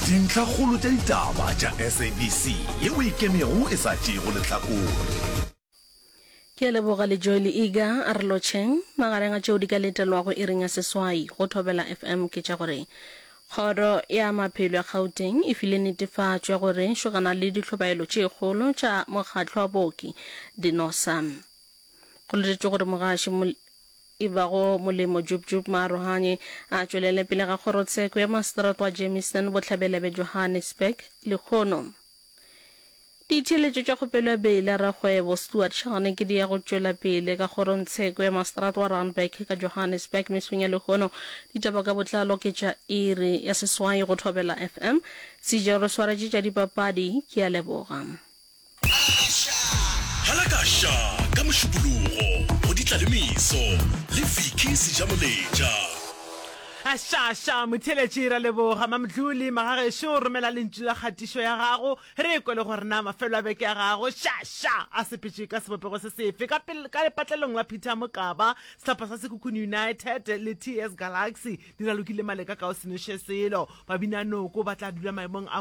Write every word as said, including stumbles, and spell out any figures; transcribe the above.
Dintlhakgolo tša ditaba tša S A B C yeo e ikemego e sa tšeego lehlakore. Ke a leboga le Joy le Iga a re lotšheng. Magareng a tšeo di ka letelwago iring ya seswai go Thobela F M ke tša gore Kgoro ya Maphelo ya Gauteng e file netefatšo ya gore šogana le dihlobaelo tše kgolo tša mokgatlo wa baoki DENOSA. Go letetšwe gore mogaši e bago Molemo Jub Jub Maarohanye a tšwelele pele ga kgorotsheko ya maseterata wa Germiston bohlabela bja Johannesburg lehono. Ditheeletšo tša kgopelo ya beile ya rakgwebo Stuart Shane ke di ya go tšwela pele ka kgorongtsheko ya maseterata wa Randburg ka Johannesburg mesong ya lehono. Ditaba ka botlalo ke tša iri ya seswai go Thobela F M. Sejelo re swaretše tša dipapadi. Ke a leboga. Halakaša ka Mošupologo go Ditlalemeso le Vicky Sejamoletša. Ašaša motheeletši, ra leboga Mamdluli magagešo. Romela lentšu la kgatišo ya gago re kwe le gore na mafelo a beke ya gago šaša a sepetše ka sebopego se sefe. Ka pele ka lepatlelong la Peter Mokaba, sehlopha sa Sekhukhune United le T S Galaxy di ralokile maleka ka o se noše selo. Babinanoko ba tla dula maemong a